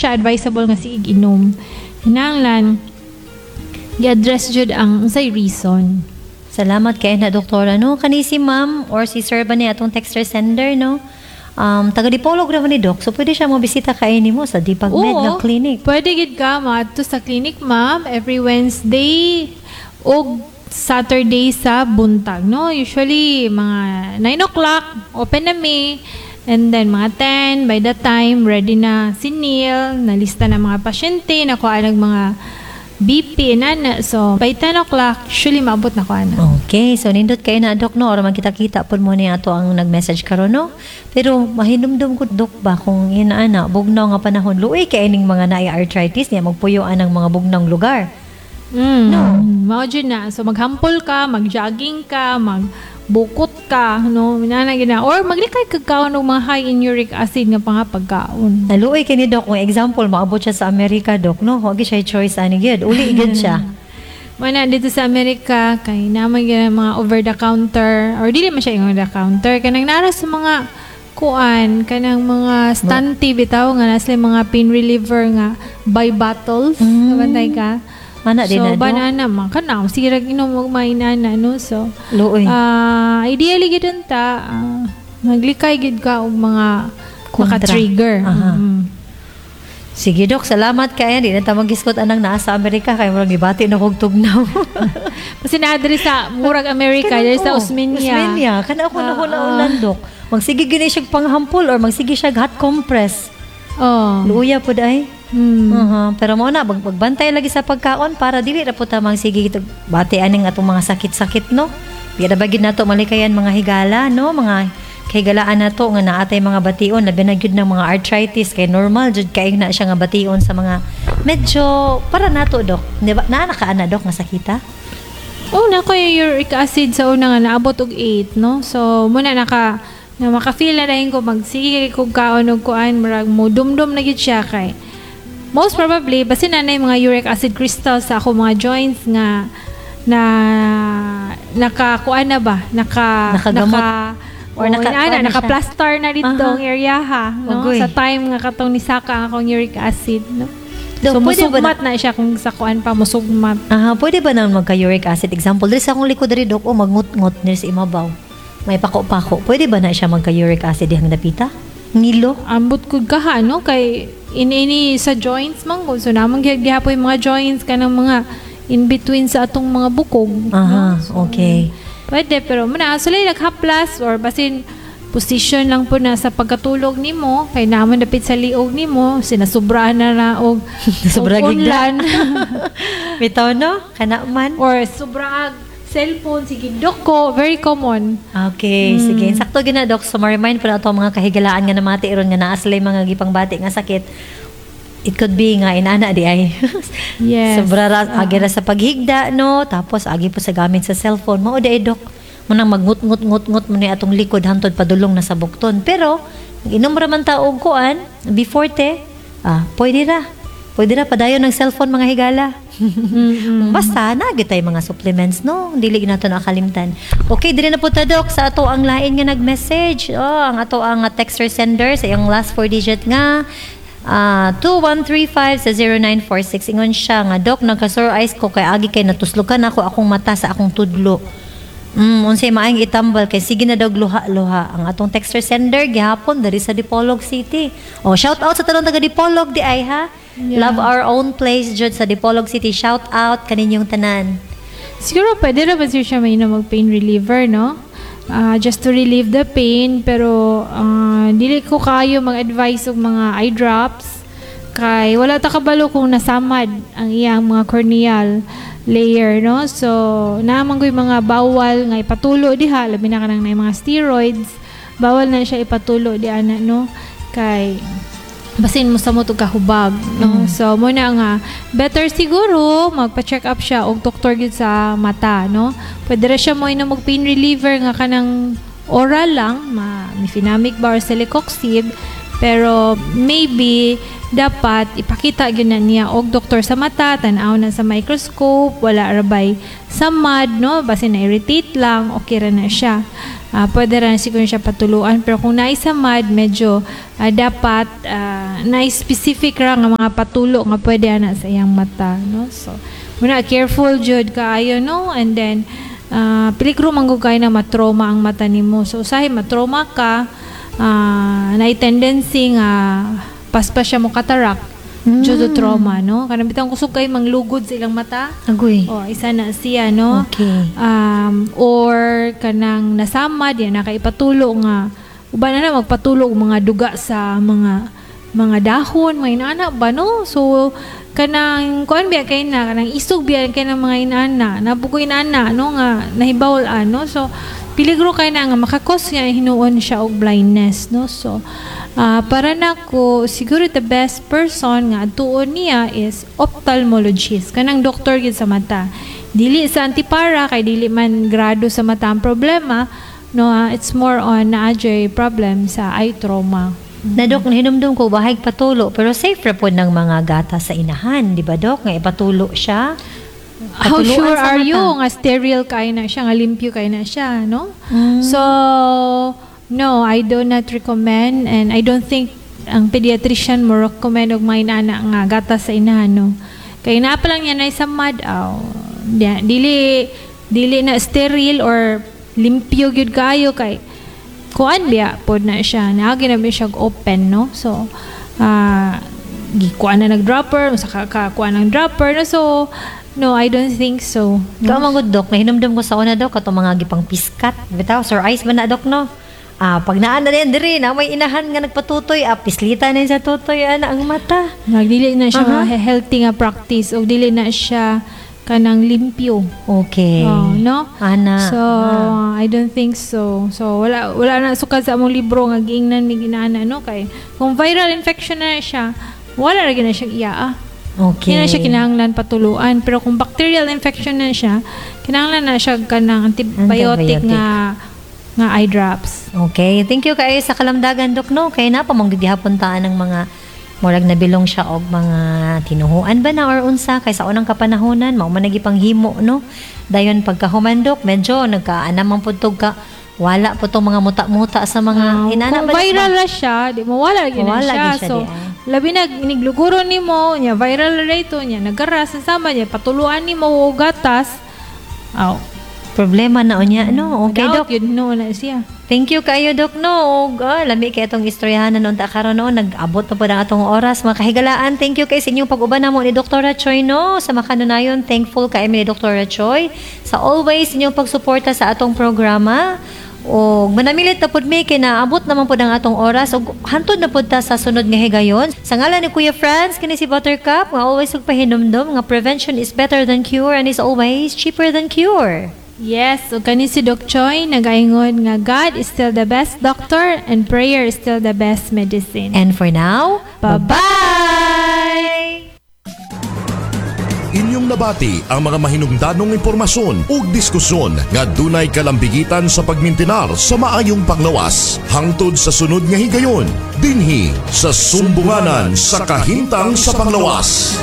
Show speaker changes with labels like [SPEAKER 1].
[SPEAKER 1] siya advisable nga sige inom. Hinanglan gi-address jud ang unsay reason.
[SPEAKER 2] Salamat kay na, doktora, no. Kani si ma'am or si sir ba ni atong texter sender, no? Taga Dipolog ra man ni, Doc. So pwede siya mo bisita kay nimo sa Dipag Med nga clinic.
[SPEAKER 1] Pwede gid ka maadto sa clinic, ma'am, every Wednesday og Saturday sa buntag, no? Usually mga 9 o'clock open na mi and then mga 10, by that time ready na si Neil, nalista na mga pasyente, nakuha ng mga BP na na. So by 10 o'clock usually maabot na ko ana.
[SPEAKER 2] Okay, so nindot kay na, Dok, no, or magkita-kita pud mo ni ato ang nag-message karon, no. Pero mahinumdum ko, Dok, ba kung inaana bugnaw nga panahon, luoy kay ning mga naay arthritis niya magpuyo anang mga bugnawng lugar.
[SPEAKER 1] No. Mao jud na. So maghampol ka, mag-jogging ka, magbukot ka, no? Inana gina. Or maglikay kag kaon og mga high in uric acid nga panga pagkaon.
[SPEAKER 2] Naluoy kay ni Doc kung example maabot siya sa Amerika, Doc, no. Wa gyud siya choice ani gyud. Uli gyud siya.
[SPEAKER 1] Mao dito sa Amerika kay naman gyud mga over the counter or dili man siya yung over the counter, kanang nara sa mga kuan, kanang mga stanti bitaw nga nasa mga pain reliever nga by bottles. Nabantay ka?
[SPEAKER 2] Mana din
[SPEAKER 1] So,
[SPEAKER 2] na, Dok.
[SPEAKER 1] Banana man kana sige ra inom og mainana, no? So
[SPEAKER 2] Luoy.
[SPEAKER 1] Ideally gid ta maglikay gid ka og mga
[SPEAKER 2] Kontra.
[SPEAKER 1] maka-trigger.
[SPEAKER 2] Aha. Sige, Dok, salamat kay. Di na ta magisgot anang naa sa Amerika kay murag gibati na kog tugnaw.
[SPEAKER 1] Kasi naa diri sa murag Amerika, diri sa
[SPEAKER 2] Oo,
[SPEAKER 1] Osmeña.
[SPEAKER 2] Osmeña. Kana ako na Dok. Magsige gini siya panghampol or magsige siya hot compress. Luya pud ay. Aha, pero mo na magbantay lagi sa pagkaon para dili ra pud ta magsige bati aning atong mga sakit-sakit, no. Di ra ba gid nato malikayan, mga higala, no, mga kahigalaan nato nga naatay mga bation, labi na gyud ng mga arthritis kay normal jud kay na siya nga bation sa mga medyo para nato, Dok. Di ba naa na ka ana, Dok, nga sakita?
[SPEAKER 1] Oh, na ko yung uric acid sa una nga naabot og 8, no? So, muna naka na maka-feel na dahin ko magsige kog kaon og kuan, murag mo dumdum na gyud siya kay most probably basin na na yung mga uric acid crystals sa ako mga joints nga na naka kuan na ba, naka
[SPEAKER 2] Nakagamot.
[SPEAKER 1] Naka
[SPEAKER 2] Or
[SPEAKER 1] or naka,
[SPEAKER 2] kuan na siya.
[SPEAKER 1] Naka-plaster na dito ang area ha, no?
[SPEAKER 2] Ugoy.
[SPEAKER 1] Sa time nga katong nisaka ang akong uric acid, no?
[SPEAKER 2] Dok,
[SPEAKER 1] So
[SPEAKER 2] pwede ba
[SPEAKER 1] musugmat na siya kung sa kuan pa musugmat.
[SPEAKER 2] Aha, pwede ba nang magka-uric acid? Example, diri sa akong likod diri, Dok, oh, magngut-ngut diri sa imabaw. May pako-pako. Pwede ba na siya magka-uric acid dihang dapita? Ngilo?
[SPEAKER 1] Ambot ko kaha, no, kay ini sa joints man gud, so namang gihapon yung mga joints kanang mga in between sa atong mga bukog, no? So, pwede, pero muna sulay naghaplas or basin position lang po na sa pagkatulog nimo kay naman dapit sa liog nimo sinasubraan na na og
[SPEAKER 2] Sobra
[SPEAKER 1] og
[SPEAKER 2] gigda.
[SPEAKER 1] unlan.
[SPEAKER 2] Bitaw, no? Kana man.
[SPEAKER 1] Or sobra ag cellphone, sige doko, very common.
[SPEAKER 2] Okay, sige. Sakto gina, Dok. So, ma-remind po na ato mga kahigalaan nga namati ron nga naa sila mga gipangbati nga sakit. It could be nga inana di ay. Sobra ra, agi ra sa paghigda, no? Tapos, agi po sa gamit sa cellphone. Mao di ay, Dok. Munang magngut-ngut-ngut-ngut mo ni atong likod hantod padulong na sa bukton. Pero, inom ra man ta og kuan, before te, pwede ra. Pwede ra padayon ng cellphone, mga higala. Basta na tay mga supplements, no. Dili nato nakalimtan. Okay, dire na po ta, Dok, sa ato ang lain nga nag-message. Oh, ang ato ang texter sender sa iyang last four digit nga 2135 sa 0946. Ingon siya nga, "Dok, nagka-sore eyes ko kay agi kay natuslokan ako akong mata sa akong tudlo. Unsay maayong itambal kay sige na daw luha-luha?" Ang atong texter sender gihapon diri sa Dipolog City. Oh, shout out sa tanang taga Dipolog di ay ha. Love our own place jud sa Dipolog City. Shout out kaninyong tanan.
[SPEAKER 1] Siguro pwede ra ba siya mainom og pain reliever, no? Just to relieve the pain, pero dili ko kayo mag-advise og mga eye drops kay wala ta kabalo kung nasamad ang iyang mga corneal layer, no? So naman ko'y mga bawal nga ipatulo diha, labi na kanang na mga steroids, bawal na siya ipatulo di ana, no, kay basin mo sa mo kahubag, no? So mo na nga better siguro magpa-check up siya og doktor gyud sa mata, no? Pwede ra siya mo inom og pain reliever nga kanang oral lang, ma mefenamic ba or celecoxib, pero maybe dapat ipakita gyud na niya og doktor sa mata, tan-aw na sa microscope, wala ra bay samad, no? Basin na irritate lang, okay ra na siya. Pwede ra na siguro siya patuluan, pero kung naay samad, medyo dapat na specific ra nga mga patulo nga pwede ana sa iyang mata, no? So muna, careful jud kaayo, no? And then peligro man gud kaayo na matrauma ang mata nimo. So usahay matrauma ka, na tendency nga paspas siya mo cataract due to trauma, no? Kanang bitang kusog kay manglugod sa ilang mata.
[SPEAKER 2] Agoy.
[SPEAKER 1] Oh, isa na siya, no?
[SPEAKER 2] Okay.
[SPEAKER 1] Or kanang nasama diya nakaipatulo nga uban na na magpatulo og mga duga sa mga dahon, mga inana ba, no? So kanang kuan biya kay na kanang isog biya kay ng mga inana, nabugo inana, no, nga nahibawol ano. So peligro kay na nga makakos nga hinuon siya og blindness, no? So para nako, siguro the best person nga adtuon niya is ophthalmologist, kanang doktor gid sa mata, dili sa antipara kay dili man grado sa mata ang problema, no? It's more on naa jay problem sa eye trauma.
[SPEAKER 2] Na Dok, nahinumdum ko bahayg patulo, pero safe ra pod ng mga gata sa inahan, di ba, Dok, nga ipatulo siya?
[SPEAKER 1] How
[SPEAKER 2] Patuluan
[SPEAKER 1] sure
[SPEAKER 2] sa
[SPEAKER 1] are
[SPEAKER 2] mata.
[SPEAKER 1] you nga sterile kay na siya, nga limpyo kay na siya, no? So no, I do not recommend and I don't think ang pediatrician mo recommend og mga inana nga gatas sa inahan, no? Kay naa pa lang yan ay sa mad aw. Dili na sterile or limpyo gyud kayo kay kuan biya pod na siya, naagi na biya siya open, no? So gikuan na nag-dropper, usa ka kuan ng dropper, no? So no, I don't think so, no?
[SPEAKER 2] Ikaw man gud, Dok, nahinumdum ko sa una, Dok, katong mga gipang piskat. Bitaw sir ice man na, Dok, no? Pag naa na rin diri na may inahan nga nagpatutoy, pislita na sa tutoy ana ang mata.
[SPEAKER 1] Nagdili na siya healthy nga practice o dili na siya kanang limpyo. Oh, no?
[SPEAKER 2] Ana.
[SPEAKER 1] So, I don't think so. So, wala na sukad sa among libro nga giingnan mi ginaana, no? Kay kung viral infection na siya, wala ra gyud na siya iya. Hindi na siya kinahanglan patuluan. Pero kung bacterial infection na siya, kinahanglan na siya kanang antibiotic,
[SPEAKER 2] Antibiotic.
[SPEAKER 1] nga eye drops.
[SPEAKER 2] Okay, thank you kaayo sa kalamdagan, Dok, no. Kay na pa mong gihapon taan ng mga murag nabilong siya og mga tinuhuan ba na or unsa kay sa unang kapanahonan mao man nagipanghimo, no? Dayon pagkahuman, Dok, medyo nagkaana man pud tog ka wala po tong mga muta-muta sa mga inana
[SPEAKER 1] Kung
[SPEAKER 2] ba, Dok,
[SPEAKER 1] viral
[SPEAKER 2] ba?
[SPEAKER 1] na siya, di mo wala gyud na
[SPEAKER 2] Wala
[SPEAKER 1] siya.
[SPEAKER 2] gyud siya
[SPEAKER 1] So,
[SPEAKER 2] di, ah.
[SPEAKER 1] labi na inigluguro nimo, nya viral ra ito, nya nagaras sama niya patuluan nimo og gatas. Aw.
[SPEAKER 2] Problema na unya, no? Okay,
[SPEAKER 1] Daot
[SPEAKER 2] Dok.
[SPEAKER 1] yun no na siya.
[SPEAKER 2] Thank you kayo, Dok, no. Og lami kay atong istoryahan na unta karon, no. Nag-abot na pud ang atong oras, mga kahigalaan. Thank you kay sa inyong pag-uban namo ni Dr. Choi, no. Sa makanunayon, thankful kay mi ni Dr. Choi sa always inyong pagsuporta sa atong programa. Og manamilit na pud mi kay naabot naman pud ang atong oras og hantod na pud ta sa sunod nga higayon. Sa ngalan ni Kuya Franz, kini si Buttercup nga always og pahinumdom nga prevention is better than cure and is always cheaper than cure.
[SPEAKER 1] Yes, ug kani si Doc Choi nagaingon nga God is still the best doctor and prayer is still the best medicine.
[SPEAKER 2] And for now,
[SPEAKER 1] Bye-bye!
[SPEAKER 3] Inyong nabati ang mga mahinungdanong impormasyon ug diskusyon nga dunay kalambigitan sa pagmintinar sa maayong panglawas. Hangtod sa sunod nga higayon, dinhi sa Sumbunganan sa Kahimtang sa Panglawas.